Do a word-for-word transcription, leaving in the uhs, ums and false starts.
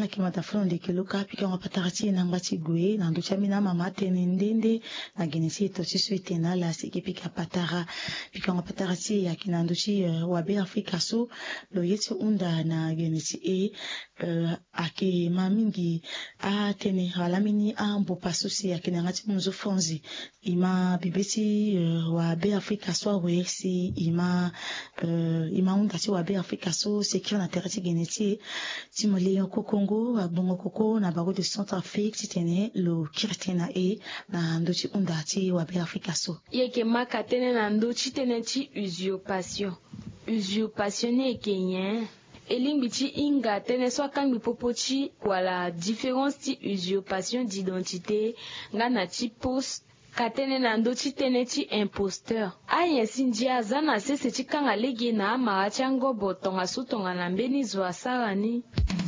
Ayeke mata fo na ndeke luka pikango patara ti e na ngba ti gue na ndö ti ambeni amama atene nde nde na gene ti e to ti so e tene na ala si e ke pika patara. Pikango patara ti e ayeke na ndö ti wabe afrika so lo ye ti hunda na gene ti e. Ayeke ma mingi atene wala ambeni ambopa so si ayeke na yanga ti munzu fonzi. E ma bibe ti wabe afrika so awe si e ma e ma hunda ti wabe afrika so sekiri na tere ti gene ti e. Ti mo leon kokongo agbongo koko na baro de centre afrique titene lo kiri tënë na e na ndö ti hunda ti wabe afrika so. E yeke ma ka tënë na ndö ti tënë ti usurpation. Usurpation ni e yeke nyen? E lingbi ti hinga tënë so akangbi popo ti wala différence ti usurpation d'identité nga na ti pose. Ka tënë na ndö ti tënë ti imposteur. Anyen si ndia aza na sese ti kanga lege na amara ti angobo tongaso tongana mbeni zo asara ni.